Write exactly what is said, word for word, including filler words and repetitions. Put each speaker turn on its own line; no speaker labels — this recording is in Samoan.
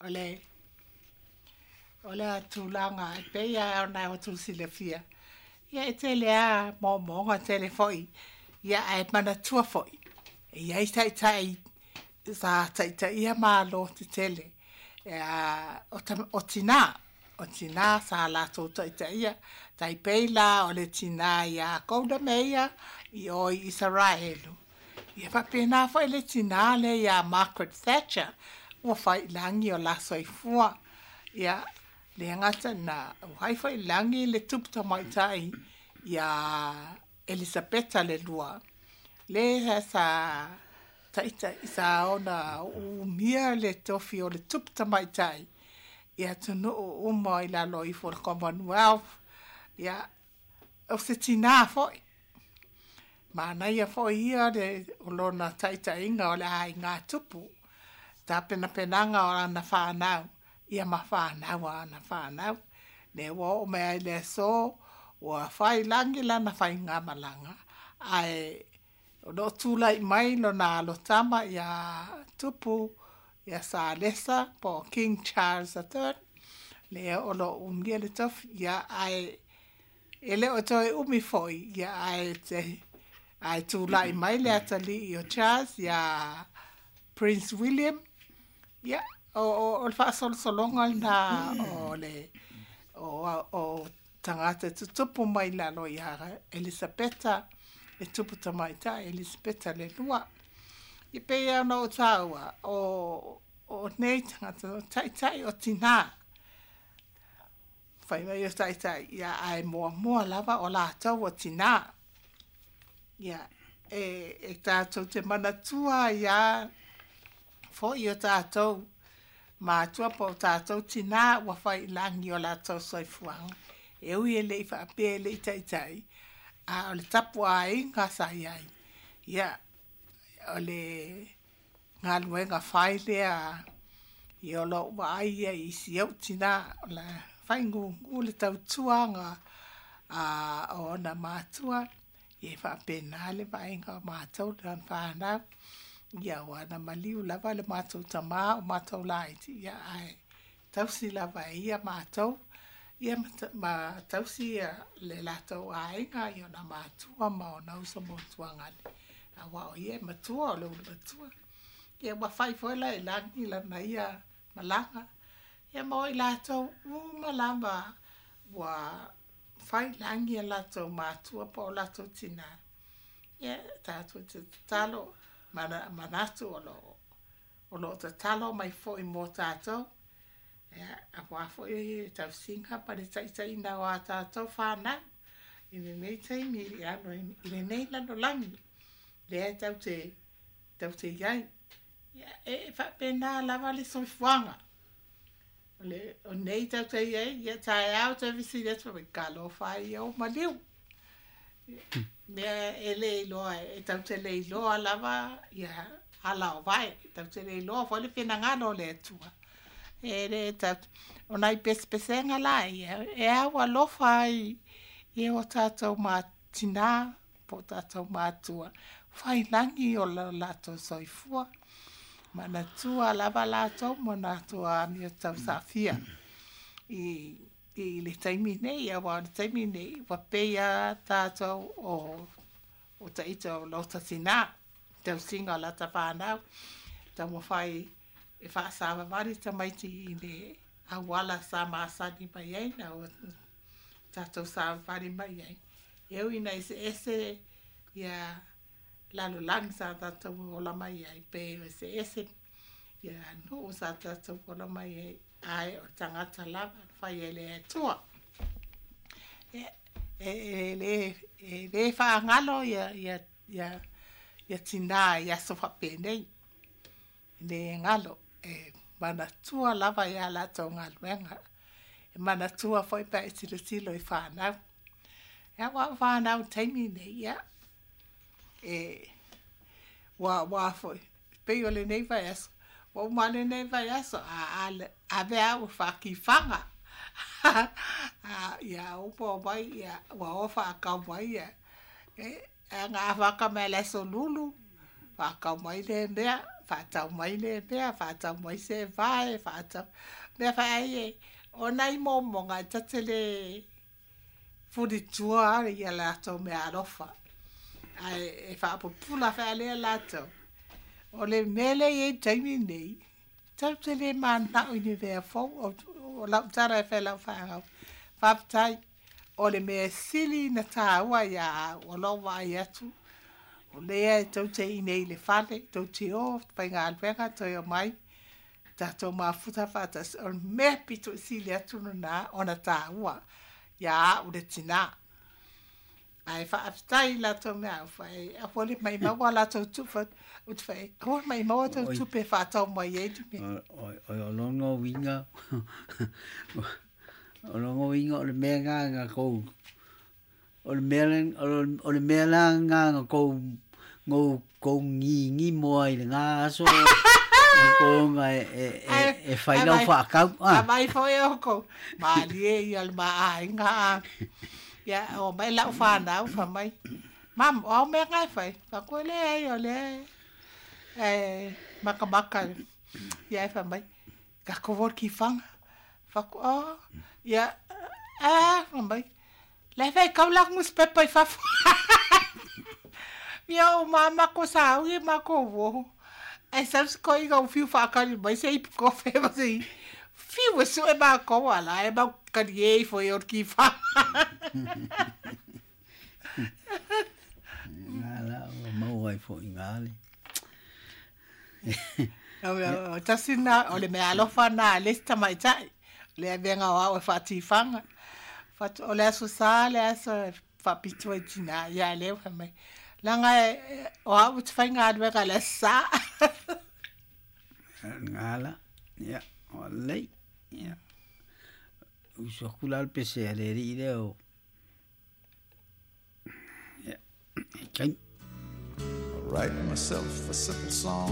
O le o le tulaga e pei lava ona outou silafia, ia e tele lava moomooga tele foi, ia ae manatua foi, e i ai taitai sa taitaia malo tetele, o tina, o tina sa latou taitaia, tai pei la o le tina ia Golda Meir i o i Isaraelu. Ia faapena foi le tina lea ia Margaret Thatcher, ua fai i lagi o la soifua. Ia, le gata na, ua fai foi i lagi le tupu tamaitai ia Elisapeta le lua, le sa taitai sa ona umia le tofi o le tupu tamaitai i atunuu uma i lalo ifo o le Commonwealth. Ia, o se tina foi. Manaia foi ia le o lona taitaiga o le aiga tupu, tapenapenaga o lana fanau, ia ma fanau a ana fanau. Lea ua oo mai ai i le aso, ua fai lagi lana faigamalaga, ae o lo o tulai mai lona alo tama ia Tupu ia Salesa po o King Charles the Third, lea o lo o umia le tofi, ia ae e le o toe umi foi, ia ae te ae tulai mai le atalii o Charles ia Prince William, ia o, o, o le faasolosologa lena o le o, o tagata tutupu mai lalo ia Elisapeta le tupu tamaitai Elisapeta le lua. I pei ona ou taua o o nei tagata o taitai o tina. Fai mai o taitai ia ae muamua lava o latou o tina. Ia e e tatou te manatua ia foi o tatou matua po o tatou tina ua fai i lagi o latou soifuaga. E ui e le i faapea e le i taitai, a o le tapuaiga sa i ai. Ia, o le galuega fai lea i o lou vaai ia i si ou tina, o le faigugu le tautuaga a o ona matua, ia e faapena le vaaiga o matou lana fanau. Ia ua na maliu lava le matou tamā o matou laiti, ia ae tausi lava e ia matou, ia ma tausi le latou aiga i ona matua ma ona uso ma tuagane. Aua o ia e matua o le ulu matua. Ia ua fai foi la i lagi lana ia malaga. Ia mo i latou uma lava ua fai lagi a latou matua po o latou tina. Ia tatou te tatalo mana, manatu o lo o lo tatalo mai foi mo tatou. Ia, aua foi e tausiga ma le taitaiina o a tatou fanau i lenei taimi i lalo i lenei lalolagi lea e tau te tau te i ai. Ia, e faapena lava le soifuaga. O le o nei tau te i ai, ia taeao te fesili atu mai talofa ai ia o maliu. Mea e le iloa, e tau te le iloa lava ia ala o vae, tau te le iloa foi le finagalo o le Atua. E le tau, o nai pesepesega la ia, e au alofa ai i o tatou tina po o tatou matua, fai lagi o lo latou soifua. Manatua lava latou ma latou amio tausafia i i le taimi nei, aua o le taimi nei, ua pei lava tatou o o taita o lota tina, tausiga o lata fanau, taumafai e faasavavali tamaiti i le auala sa masani mai ai na o tatou savavali mai ai. E ui ina eseese ia lalolagi sa tatou ola mai ai, pe eseese ia nuu sa tatou ola mai ai, ae o tagata lava na fai e le Atua. E, e, e le e le faagalo ia ia ia ia tina i aso faapenei. E le galo e manatua lava ia latou galuega. E manatua foi pe a e tilotilo i fanau. Ia aua o fanau i le taimi nei, ia e ua ua foi pei o lenei vaiaso, ua uma lenei vaiaso, a a ave au e faakifaga. A ia uma mai ia ua o faakau mai ia e aga afaka mai le aso lulu, faakau mai le mea, Faatau mai le mea, faatau mai se vae, faatau. Mea fai e, o nai momoga e tate le fulitua ia latou mea alofa. Ae e faapupula faalea latou. O le mea lea e i ai i le taimi lenei, tatou te le mananao i ni mea fou. O lau tala e fai i lau fanau, faafetai, o le mea sili na taua ia au, o lou vaai atu, o lea e tou te i inei i le fale, tou te o faigaluega toe omai, tatou mafuta faatasi. O le mea pito i sili atu lena ona taua ia au le tinā. Ae faafetai i latou mea au fai, aua le maimau a latou tupe, ou te fai, aua le maimau a tou tupe e faatau mai ai le mea.
O o lona uiga, o lona uiga o le mea lena na tou, o le mea o le mea la lena na tou no kou gigimo ai i lena aso tou e e e fai lau faakau
a. Mai foi oukou, malie ia le maaiga. Ia, o mai lau fanau, fai mai, mam, o au mea nga e fai. Fai leai o lea e makamaka. Ia e fai mai, tatou o i le tifaga. Fai atu, o, ia, a, fai mai, la e faitau la nusipepa i fafo. Ia o ma makou sauni makou uo. Ae sau se toeaina ua fiu faakali mai se ipu kofe ma se fiu e sue makou a la e mau talie ifo i o le tifaga.
Na la ua maua ai foʻi gā le.
O tasi na, o le mea alofa na a le isi tamaitai. O le avega o au e faatifaga. O le aso Sa le aso e faapito ai tinā. Ia lea ua fai mai. Leaga o au ou te faigaluega i le aso Sa.
Gā la, ia, o lelei, ia. Usu atu la le pese a le alii lea o. Ia, taimi.
I write myself a simple song.